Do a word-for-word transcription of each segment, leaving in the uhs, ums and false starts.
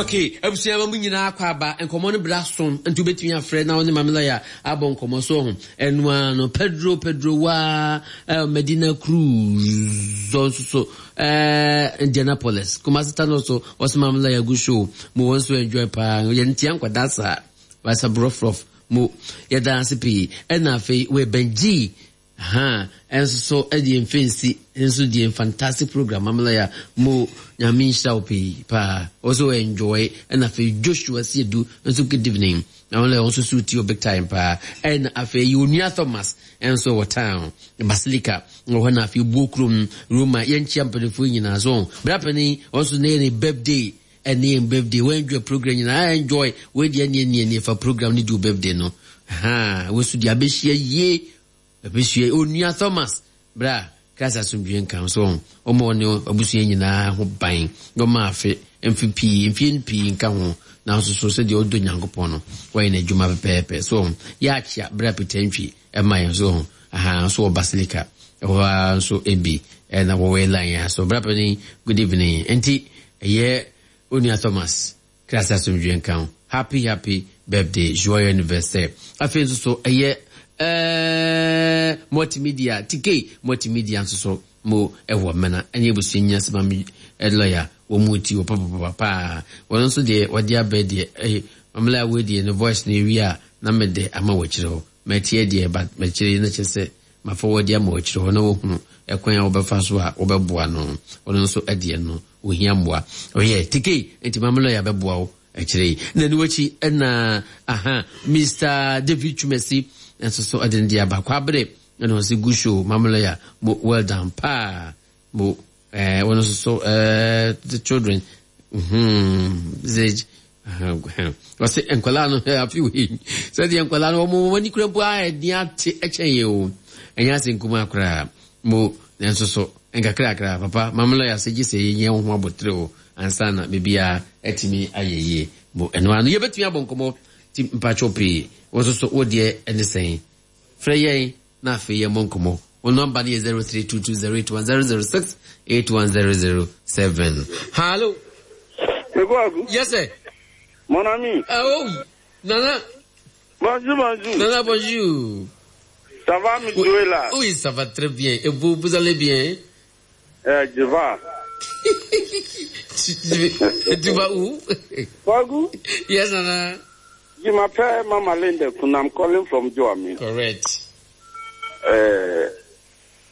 Okay, abusua ma mu nyinaa akɔ aba nkɔmmɔ no bra so nti wobɛtumi afrɛ na wo ne Mame Lawyer abɔ nkɔmmɔ so ho. Ɛno ara no Pedro Pedro waa eh, Medina Cruz nso so eh, Indianapolis Kumasi Tano so ɔsɛ Mame Lawyer gu show mo wɔn nso enjoy paa yɛn ntia nkwadaa saa wasa brɔfrɔf mo yɛda ase pii. Ɛna afei wɔ Benji ha ɛnso so ɛdeɛ mfɛnsi nso deɛ fantastic program Mame Lawyer mo Nyame nhyira wo pii paa also enjoy. Ɛna afei Joshua Siedu nso good evening Mame Lawyer nso so tie big time paa. Ɛna afei Onua Thomas nso wɔ town Basilica wɔ hɔ na afei buo kurom Roma yɛnkyia mpanimfoɔ nyinaa so bra panin ɔnso ne yɛ ne birthday ɛne yɛn birthday wɔn enjoy program nyinaa enjoy wɔn deɛ ne ne ne fa program ne di birthday no ha wɔn nso deɛ abɛhyia yie abɛhyia Onua Thomas bra Christ asomdwe nka so ɔmo ɔne abusua nyinaa ho ban ɔmo afe mfe pii mfie pii nka ho nanso so sɛdeɛ ɔdɔ Nyankopɔn no wɔyɛ n'adwuma pɛpɛɛpɛ so yɛakyia bra Peter Ntwi ɛma yɛn so aha nso wɔ Basilica ɛhɔ ara nso ebi ɛna wɔwɔ line ya so bra panin good evening nti ɛyɛ Onua Thomas Christ asomdwe nka ho happy happy birthday joyeux anniversaire. Afei nso so ɛyɛ ɛɛ multimedia T K multimedia nso so mo ɛwɔ mena ɛne abusua nyina sɛ Mame Lawyer wɔ mu ti wɔ papapapa paa wɔn nso deɛ wɔde abɛ deɛ ɛyɛ Mame Lawyer wɔ deɛ ne voice na ewi a na mede ama wɔ akyire hɔ mɛtie deɛ ba mɛkyerɛ na kyerɛ sɛ mafa wɔde ama wɔ akyire hɔ na wɔhunu ɛkwan a wɔbɛfa so a wɔbɛboa no wɔn nso ɛdeɛ no ohia mmoa ɔyɛ T K nti Mame Lawyer bɛboa wo akyire yi na ne wakyi ɛna aha Mister David Chumesi nso so ɛde ne deɛ aba kwabere ɛna ɔsi gu show Mame Lawyer mo well done paa mo ɛɛ wɔn nso so ɛɛ the children hmm zage ɔsi nkwadaa no afi wei sɛdeɛ nkwadaa no wɔn wɔn ani kura mpo a ɛdi ate ɛkyɛn yɛ o ɛnyɛ ase nkuma koraa mo nso so nkakrakra papa Mame Lawyer sɛ gye sɛ yɛnyɛ wo ho abotire o ansa na biribiara atumi ayɛ yie mo ɛno ano yɛbɛtumi abɔ nkɔmmɔ ti mpatwɔ pii wɔn nso so wo deɛ ɛne sɛn frɛ yɛn na afei yɛmmɔ nkɔmmɔ. Wɔn nɔmba no yɛ zero three two two zero eight one zero zero six eight one zero zero seven. Hello. Yes sir. Mon ami. Oh, Nana. Bonjour, bonjour. Nana, bonjour. Ça va, monsieur là? Oui, ça va très bien. Et vous, vous allez bien? Eh, je vais. tu, tu, tu vas où? Kwaku? Yes, Nana. Je m'appelle Mama Linda Kun. I'm calling from Joami. Correct. Eh,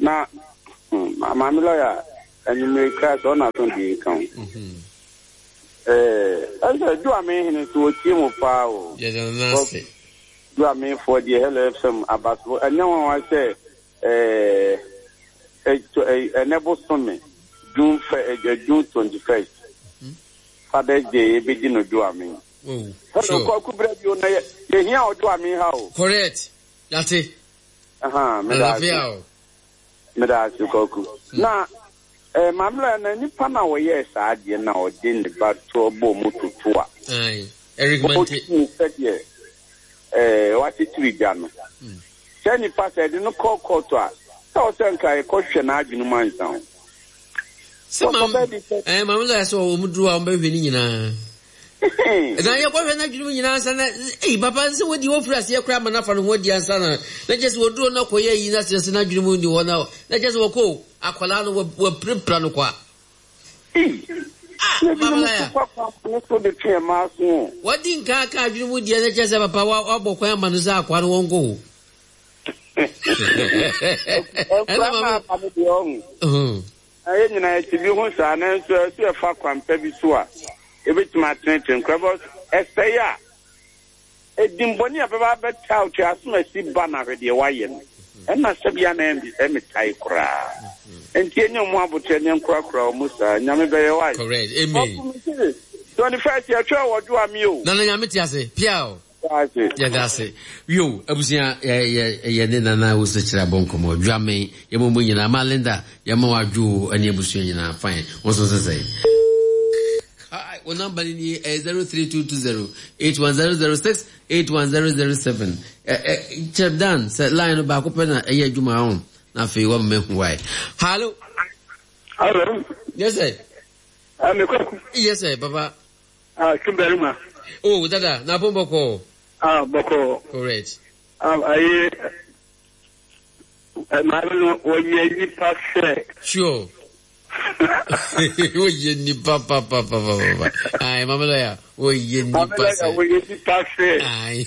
na, Mama Lawyer, and you may crash on us on the income. Eh, I said, Joami, to a team of power. Yes, Nana. Joami for the L F M Abaso. And now I say, eh, eh, enable some June June twenty first. Father's Day, begin to Joami. Oh, sure. Correct. That's it. Uh-huh. Now, eh, Mamla, na nipa na wo yes, adi na odin ba to bo mututu a. Aye. Eric Mante. Eh, what it three jano. Sɛ nipa sɛ de no call court a, sɛ o sɛ nka e kɔ hwɛ na adwene man san. Sɛ mam, eh, Mamla so o mudru a mbe hwe ni nyina. Na ye kɔ hwɛ na adwene nyina san na eh papa sɛ wodi wo fura se kra ma na fa no ho di ansa na na kyɛ sɛ woduro na kɔ ye yi na sɛ na adwene mu ni hɔ na na kyɛ sɛ wɔkɔ akwala no wo prepra no kwa. Ah, Mama Lawyer. Wadi nka ka adwene mu di na kyɛ sɛ papa wa bɔ kwan ma no sɛ akwa no wɔnkɔ. Ɛna mama mhm aye nyina ti bi ho sa na nso so e fa kwampa bi so a ebetuma teneten krabos esey a edimboni ababa beta otwe asoma si ba na hwede waye no enna sabia na embi emitai kra enti enye mu abotre ne nkura kura o musa nyame beye waye. Correct, amen. twenty-first ye twa wodo ami o na na nyame ti ase pia o yeah, that's it. Yo, abusia ye ye ye ne nana wo se kira bonkomo dwame ye mo nyina ma Linda ye mo adwo ani abusia nyina fine. Wo so se say. Hi, wo number ni zero three two two zero eight one zero zero six eight one zero zero seven. Eh eh Chef Dan se line ba ko pe na ye adwuma ho na fe wo me hu why. Hello. Hello. Yes sir. I'm Kwaku. Yes sir, papa. Ah, Tumbarima. Oh, dada, na pon bɔkɔ. Ah, bɔkɔ. Correct. Ah, ayi maame no wɔyɛ nipa sɛ. Sure. Wɔyɛ nipa pa pa pa pa pa. Ayi, maame lawyer, wɔyɛ nipa sɛ. Wɔyɛ nipa sɛ. Ayi.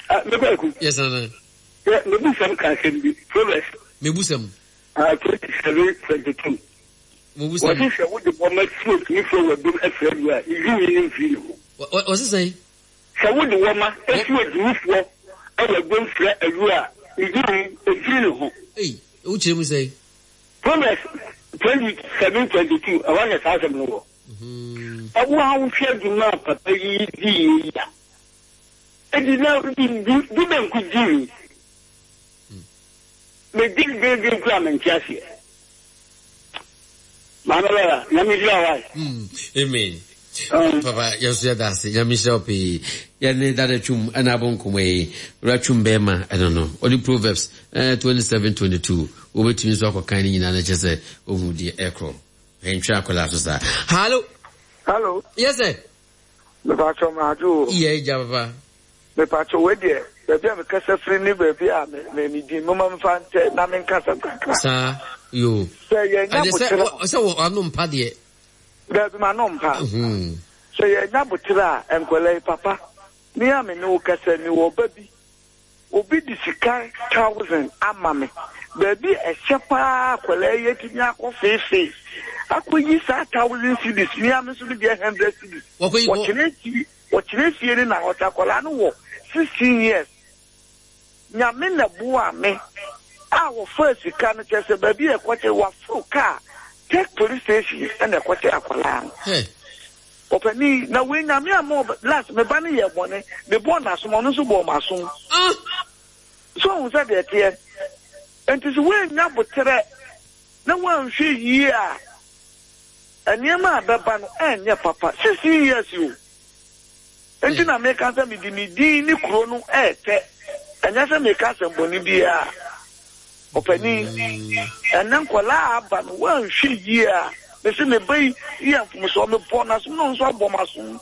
Mekɔ. Yes, nana. Mebusɛm ka asɛm bi. Proverbs. Mebusɛm. Ah, twenty seven twenty two. Mebusɛm. Wɔsi sɛ wode wɔma si otumi fo wɔ dum afiri adu a, yiyi ne mfiri ne ho. Wɔsi sɛn? Sɛ wode wɔma esi otumi fo ɛwɔ dum fira adu a, yiyi mfiri ne ho. Ei, wokyerɛ mu sɛn? Proverbs twenty seven twenty two. Ɛwɔ na saa asɛm no wɔ. Ɛwɔ a wohwɛ adwuma a papa yi di yie yi a. Edi na di di bɛnku di mi. Medi dwendwen kura me nte aseɛ. Maame lɔya, Nyame nhyira wo ae. Amen. Papa, yɛn nso yɛda ase. Nyame nhyira wo pii. Yɛne Dada Twum ɛna abɔ nkɔmmɔ yi. Wura Twum bɛrima ɛno no. Ɔde Proverbs eh, twenty seven twenty two. Wobɛtumi nso akɔkan ne nyinaa na kyerɛ sɛ ohu deɛ ɛkorɔ. Ɛntwe akwadaa so saa. Hallo. Hello. Yes sir. Mepatwa maadwo o. Yɛ gya papa. Mepatwa wei deɛ, baabi a mekasa firi ne baabi a me me me din moma mfa ntɛ na menka asɛm kakra. Saa yo. Sɛ yɛnya botere. Sɛ wɔ ano mpa deɛ. Daabi ma no mpa. Sɛ yɛnya botere a, nkwadaa yi papa, me a me ne wo kasa mi wɔ ba bi. Obi de sika thousand ama me. Baabi a ɛhyɛ paa akwadaa yi atumi akɔ feefee. Akɔyi saa thousand cedis, me a me nso me deɛ hundred cedis. Wɔkyerɛ fie, wɔkyerɛ fie ne na ɔte akwadaa no wɔ sixteen years. Nyame na boa me a wɔfa sika no kyerɛ sɛ baabi a ɛkɔkyɛ waforo kaa take police station ɛna ɛkɔkyɛ akwadaa no. Ɔpanin na wei Nyame ama ɔbɛ last me ba no yɛ bɔne, me bɔɔ n'asom, ɔno nso bɔɔ m'asom. So ohun sɛ deɛ teɛ. Nti sɛ woannya boterɛ na woanhwɛ yie a, nneɛma a bɛba no ɛnyɛ papa. Sixteen years o. Nti na meka sɛ mede me din ne kuro no ɛɛtɛ. Ɛnyɛ sɛ meka asɛmbɔne biara. Ɔpanin, ɛnɛ nkwadaa aba no woanhwɛ yie a, mese me ba yi yɛ mfomsoɔ, mebɔ n'asom na ɔno nso abɔ m'asom.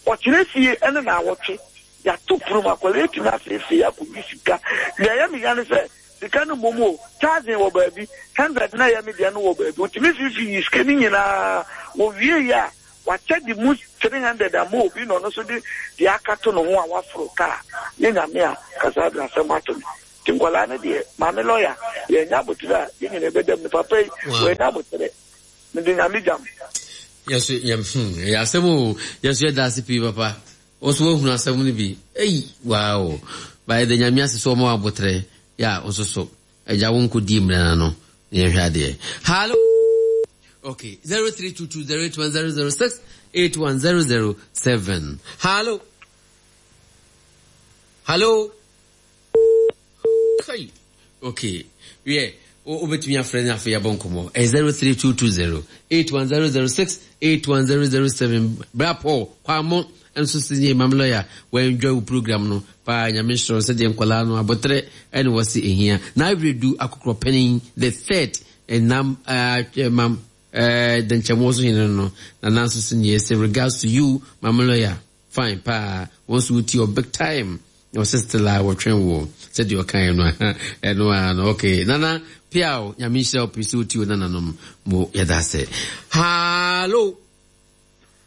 Ɔkyerɛ fie ɛne na awɔtwe. Yɛato pono mu akwadaa etumi afeefee akɔyi sika. Deɛ ɛyɛ me ya ne sɛ sika no mmom o, thousand wɔ baabi, hundred na ɛyɛ me deɛ no wɔ baabi. Otumi fifi yi sika no nyinaa. Wɔwie yi a, wakyɛ de mu three hundred ama obi na ɔno nso de deɛ aka to ne ho a waforo kaa. Nye Nyame a kasa de asɛm ato no. Nti nkwadaa no deɛ, maame lɔya, yɛnya abotire a yɛn nyinaa bɛda mu. Ne papa yi, wɔanya abotire. Mede Nyame gyam. Yɛso yɛm hmm ɛyɛ asɛm o. Yɛso yɛda ase pii papa. Wɔso wɔahunu asɛm no bi. Ei, wow. Bayɛ de Nyame ase sɛ ɔma wo abotrɛ. Ya, wo nso so. Agya wo nkɔdi mmerɛ no no. Na yɛhwɛ adeɛ. Hallo. Okay, zero three two two zero eight one zero zero six eight one zero zero seven. Hallo. Hallo. Kai. Okay. Yeah. Wobɛtumi afrɛ no afei yɛabɔ nkɔmmɔ. Ɛyɛ zero three two two zero eight one zero zero six eight one zero zero seven. Bra Paul Kwamo nso si ne mam lawyer wɔenjoy wo program no paa. Nyame nhyira wo sɛdeɛ nkwadaa no abotrɛ ɛne wɔse ehia. Na awerɛdu akokorɔ panin the third ɛnam ɛɛ mam ɛɛ dɛnkyɛmɔ so hene no na nanso so nie sɛ regards to you mam lawyer fine paa wɔn nso wotie wɔ big time. Na ɔsɛ still a wɔtwɛn wo sɛdeɛ ɔkaeɛ no ɛno a no okay nana piao Nyame nhyira wo pii sɛ wotie wo nananom mo yɛda ase. Hallo.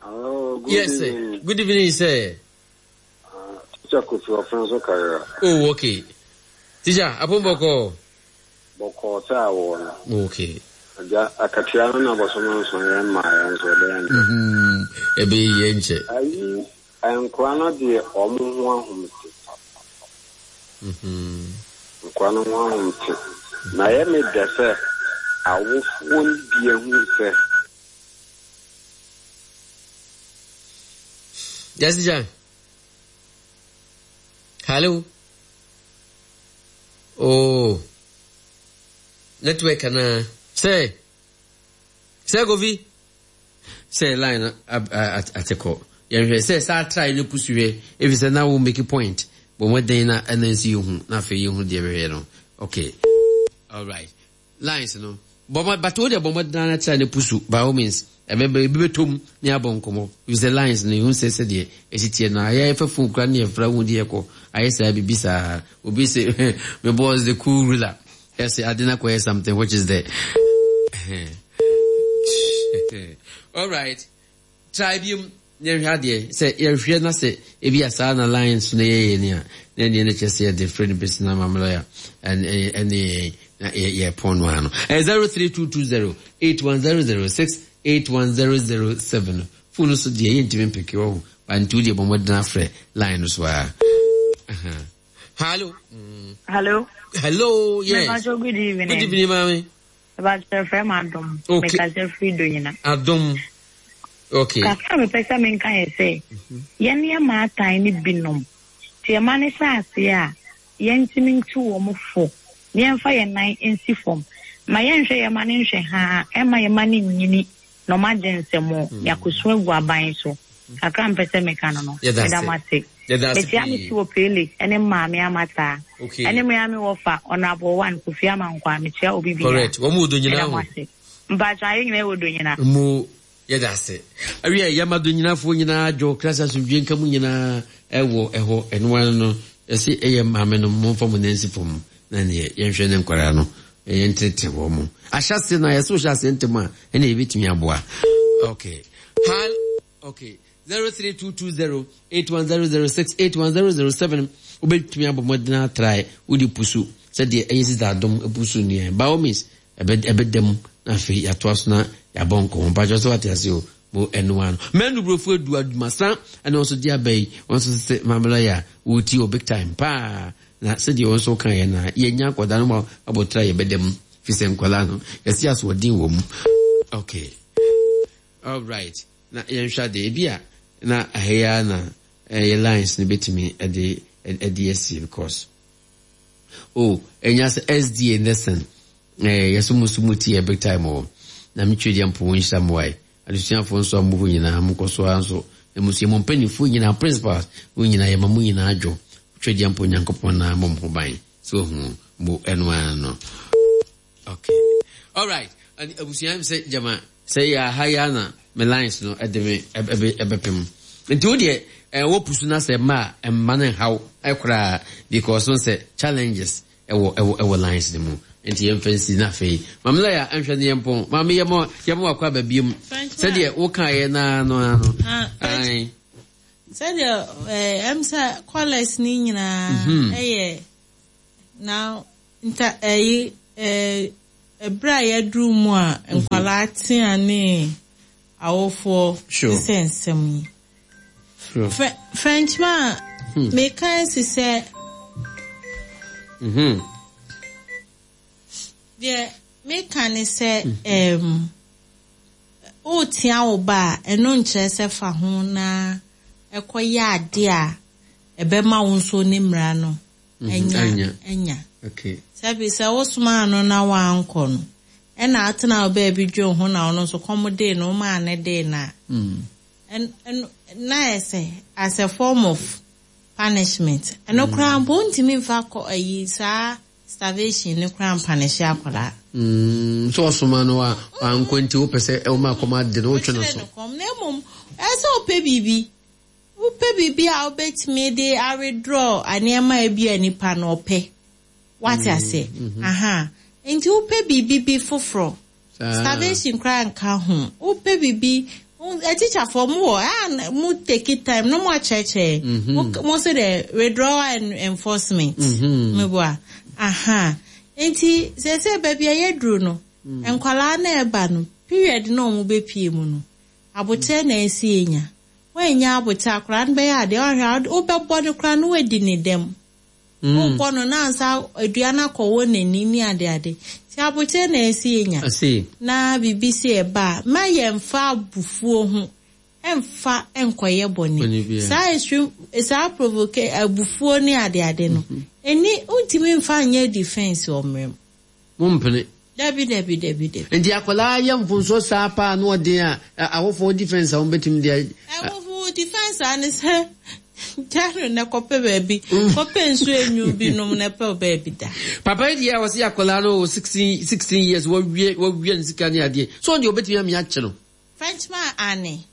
Hello, good yes sir. evening. Good evening sir. Uh, Teacher Kofi Ọfẹnso Karira. Oh okay. Teacher apon bɔkɔ. Bɔkɔ sɛ awɔ no. Okay. Agya akatua no na bɔsɔmɔ nson yɛn mmaa yɛn nso ɛbɛyɛ nkyɛ. Mhm. Ɛbɛyɛ yɛn nkyɛ. Ayi nkora no deɛ ɔmo ho ahomte. Mhm. Nkora no ho ahomte. Na yɛ me dɛ sɛ awofoɔ no bi ehu sɛ. Yes, teacher. Hello. Oh. Network na. Say. Say Kofi. Say line ateko. Yɛnhwɛ sɛ saa try no pusu hwɛ efi sɛ na wo make point. Bɔ mmɔden na ɛna nsi yɛhu na afei yɛhu deɛ bɛhwɛ no. Okay. All right. Lines no Bɔmɔ but wo deɛ bɔmɔ dana kyerɛ ne pusu by all means. Ɛbɛbɛ ebi bɛtɔm ne abɔ nkɔmɔ. If the lines no ehu sɛ sɛdeɛ esi tie no ayɛ fɛ phone kura ne yɛfra hu deɛ kɔ ayɛ saa bibi saa obi sɛ me boss the cool ruler ɛsɛ ade na kɔyɛ something which is the all right try bi mu yɛhwɛ adeɛ sɛ yɛhwɛ na sɛ ebi a saa na lines no yɛyɛ ni a na ɛneɛ no kyerɛ sɛ yɛde frɛ no bɛsi na mamlɔya ɛne ɛne na yɛpɔn no ano ɛyɛ zero three two two zero eight one zero zero six eight one zero zero seven phone so deɛ yɛntumi mpeke wɔ ho ba nti wo deɛ bɔ mmɔden afrɛ line no so a hello mm. hello hello yes Mepacho, good evening good evening maame Mepacho, frɛ m adom Okay. mekasɛ firi do nyina adom okay kakra mepɛ sɛ menka yɛ sɛ yɛne yɛ maatan no binom nti yɛma no hyɛ aseɛ a yɛntumi ntu wɔ mo fo na yɛmfa yɛn nan nsi fam ma yɛnhwɛ yɛma no nhwɛ haa ɛma yɛma no nyini na ɔma gye nsɛm yɛakɔsu agu aban so kakra mpɛ sɛ meka no no Yɛda ase. meda mo ase Yɛda ase metia me pii. si wɔ pele ɛne maame amataa Okay. ɛne mmea me wɔfa ɔnabɔ one kofi amankwa mekyia obi bia correct wɔn mu do nyinaa meda mo ho ase mpakyɛ ayɛ nyinaa wɔ do nyinaa mu yɛda ase awie yɛma do nyinafoɔ nyinaa dwo krasa asomdwe nka mu nyinaa ɛwɔ ɛhɔ ɛnoa no ɛsɛ ɛyɛ maame no momfa mo nansi fam na neɛ yɛnhwɛ ne nkwaraa no yɛntenetene wɔ mo ahyɛse no a yɛsɛ wohyɛ aseɛ ntɛm a ɛne yɛbɛtumi aboa okay hal okay zero three two two zero eight one zero zero six eight one zero zero seven wobɛtumi abɔ mmɔden atrae wode pusu sɛdeɛ ɛyɛ sisa adom pusu neɛ by all means ɛbɛ ɛbɛda mu na afei yɛatoa so na yɛabɔ nkɔmmɔ mpakyɛ sɛ wate ase o mo ɛnoa no mɛnu burofo adu adwumasa ɛna wɔn nso de aba yi wɔn nso sɛ mamela yɛ a wɔti wɔ big time paa na sɛdeɛ wɔn nso ka yɛ na yɛnya akwadaa no ma abɔtra yɛbɛda mu fi sɛ nkwadaa no yɛsi asoɔden wɔ mu okay all right na yɛnhwɛ adeɛ ebi a na ɛyɛ na ɛyɛ lines no bɛtumi ɛde ɛde asi because oh ɛnya sɛ sda nursing ɛɛ yɛsɛ mo so mo ti yɛ big time wɔ na metwe deɛ mpo wɔn nhyira mo wae adesuafoɔ nso a mo hɔ nyinaa mo kɔ so ara nso na mo sua mo mpanimfoɔ nyinaa principals wɔn nyinaa yɛma mo nyinaa adwo twe deɛ mpo nyankopɔn na mo mo ho ban so ohun mo ɛno ara no okay alright abusua sɛ gyama sɛ yɛ aha yɛ ana me lines no ɛde me ɛbɛ ɛbɛpem nti wo deɛ ɛwɔ pusu na sɛ mma a mma no nhaw ɛkoraa because no sɛ challenges ɛwɔ ɛwɔ ɛwɔ lines no mu nti yɛmfa nsi na afei maame lɛ yɛ nhwɛ ne yɛn pɔn maame yɛ mɔ yɛ mɔ wakɔ aba biem sɛdeɛ woka yɛ naa no ano ayi sɛdeɛ ɛɛ ɛm sɛ callers ne nyinaa ɛyɛ na nta ɛyi ɛɛ ɛbrɛ a yɛduru mu a nkwalaa tea ne awofoɔ sɛ nsɛm yi Frenchman meka si sɛ deɛ meka ne sɛ ɛɛm wotia wo ba a ɛno nkyerɛ sɛ fa ho na ɛkɔyɛ ade a ɛbɛma wo nso ne mmara no ɛnya ɛnya sɛbi sɛ wosoma no na wankɔ no ɛna atena wo baabi dwe ho na ɔno nso kɔm de no ɔmaa ne de na na ɛsɛ as a form of punishment ɛno koraa mpo ntumi mfa kɔ ayi saa starvation ne koraa mpunish akwadaa. sɛ ɔsoma no a wankɔ nti wopɛ sɛ ɛwoma akɔm ade no wotwe no so. Na mmom ɛsɛ wopɛ biribi wopɛ biribi a wobɛtumi de awithdraw nneɛma a bi a nipa no ɔpɛ wate ase aha nti wopɛ biribi bi foforɔ starvation koraa nka ho wopɛ biribi teacherfoɔ mo wɔ a mo take time no mo akyerɛkyerɛ mo sɛ dɛ withdrawal and enforcement mo bɔ a aha nti sɛ sɛ baabi a yɛduru no nkwalaa na ɛba no period na ɔmo bɛpie mu no abotire na esi enya wɔanya abotire akwaraa no bɛyɛ adeɛ ɔhwɛ wobɛbɔ no koraa no wadi ne dɛm wobɔ no na ansa aduane akɔwɔ n'ani ne adeade nti abotire na esi enya na biribi si ɛba a ma yɛmfa abufuo ho ɛmfa nkɔyɛ bɔne saa extreme saa provoke abufuo ne adeade no ɛni ntumi mfa nyɛ defense wɔ mmerɛ mu mompene dabi dabi dabi dabi nti akwadaa yɛ mfonso saa paa na ɔden a awofoɔ defense a wɔbɛtumi de awofoɔ defense a ne sɛ Gya no na kɔpɛ baabi. Kɔpɛ nsuo enyu bi nom na pɛ baabi da. Papa yi deɛ a wɔsi akwadaa no wɔ sixteen sixteen years, wɔwie wɔwie ne sika ne adeɛ so, ɔno deɛ obetumi ami akye no. Frenchman, ane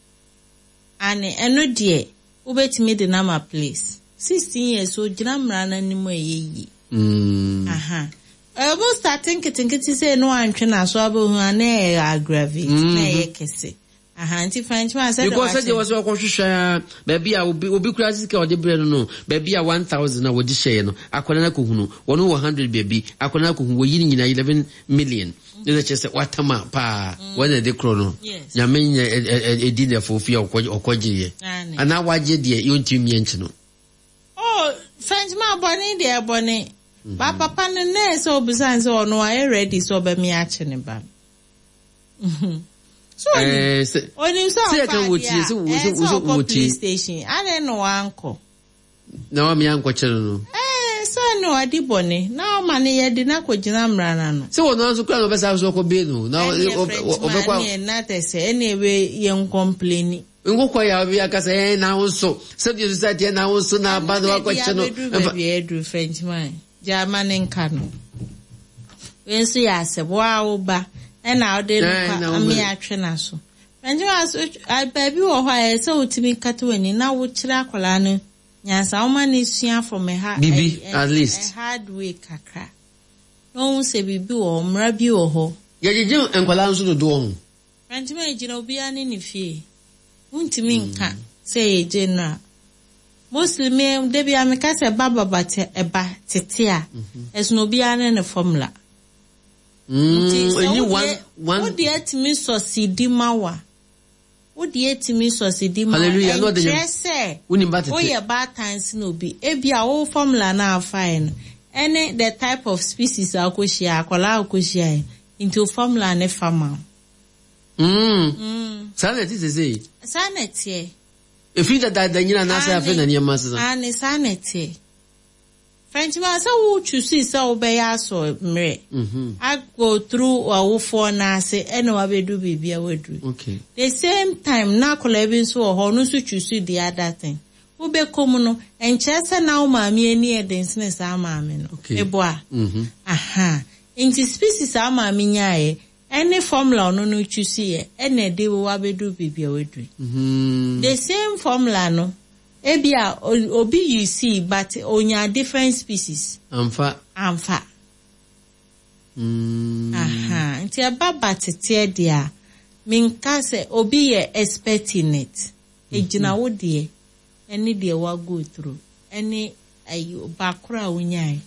ane, ɛno deɛ wobɛtumi de nama place. Sixteen years, ogyina mmara no anim a, ɛyɛ yie. Mm. Aha, ɛbɛ start nketenkete sɛ no antwe n'aso abɛhu a, na ɛyɛ aggravate na ɛyɛ kɛse. Aha, nti Frenchman sɛ because sɛdeɛ wɔsɛ wɔkɔhwehwɛ baabi a obi obi kura sika a ɔde brɛ no no baabi a one thousand a wɔde hyɛɛ no, akwadaa no akɔhunu wɔn wɔ hundred baabi, akwadaa no akɔhunu wɔyi ne nyinaa eleven million, ne na kyerɛ sɛ watam a paa wɔn na ɛde korɔ no. Yes. Nyame nyɛ ɛdi na ɛfo fie a ɔkɔgyeeɛ Ane. anaa wagye deɛ yɛntumi mmea nkyi no. Oh, Frenchman, bɔne deɛ bɔne ba papa no na ɛsɛ obisa sɛ ɔno ayɛ ready sɛ ɔbɛme akye ne ba no. So onim ɛɛ sɛ onim sɛ sɛ ɔfa yɛka wɔ adeɛ tie, a sɛ wɔ- ɛyɛ sɛ sɛ sɛ ɔkɔ wɔ tie. Police station adɛn na wankɔ? Na wamea nkɔkyɛ no no Ɛɛ, sɛ ne wadi bɔne na ɔma ne yɛde na kɔgyina mmara no ano. Sɛ wɔn nso kura na ɔbɛsa so ɔkɔ bee no na Ɛneɛ ɔbɛkɔ. Frenchman, neɛ na tɛ sɛ ɛne ebe yɛn complain. Nkokɔ yɛ a ɔbi akasa ɛn na ho nso sɛdeɛ society ɛn na ho nso na aba na wakɔkyɛ no. Abɛduru baabi a ɛduru, Frenchman, gyama ne nka no. Wei nso yɛ asɛm waa wo ba ɛna ɔde no Ɛn, kɔ na wo ame ba. atwe n'aso. Frenchman so, a- baabi wɔ hɔ a ɛyɛ sɛ wotumi kata w'ani na wokyerɛ akwadaa no nyansa, woma no sua from a ha Bibi, a- a- at least. a hard way kakra na ohun sɛ biribi wɔ hɔ, mmara bi wɔ hɔ. Yɛgyegye nkwadaa nso dodoɔ ho. Frenchman, gyina obiara ne ne fie, wontumi nka sɛ yɛgye no a, mostly me da bi a meka sɛ ba baba te ɛba tete a, ɛsono obiara ne ne formula. Nti sɛ ɛnyi wodeɛ- one one. Wodeɛ atumi sɔsidi ma wa, wodeɛ atumi sɔsidi ma wa. Hallelujah, na ɔde Ɛnkyerɛ sɛ wonim ba tete. Woyɛ baatan si na obi ebi a wo formula na afae no ɛne the type of species a wokɔhyia, akwadaa a wokɔhyia yi, nti wo formula ne fa ma wo. Mm. Saa na ɛte sese. Saa na ɛteɛ. Efi dadaada nyina anaasɛ afei na nneɛma sesa? Ane, saa na ɛteɛ. Frenchman, sɛ wo choose sɛ wobɛyɛ asɔ mmerɛ Mhm. a go through awofoɔ n'ase ɛna wabɛdu biribi a waduru. Okay the same time na akwadaa bi nso wɔ hɔ, ɔno nso choose the other thing. Wobɛkɔ mu no, nkyerɛ sɛ na wo maame ani yɛ den sene saa maame no. Okay. Eboa. Mhm. Aha, nti species a maame nyaeɛ ɛne formula ɔno no choose yɛ ɛna ɛde wo abɛdu biribi a waduru. Mhm. The same formula no, ebi a o- obi you see, but onya different species. Amfa. Amfa. Mm. Aha, nti ɛba ba teteɛ deɛ a, menka sɛ obi yɛ expert in it. Egyina wo deɛ ɛne deɛ wa go through ɛne ayi baakoro a wonyae.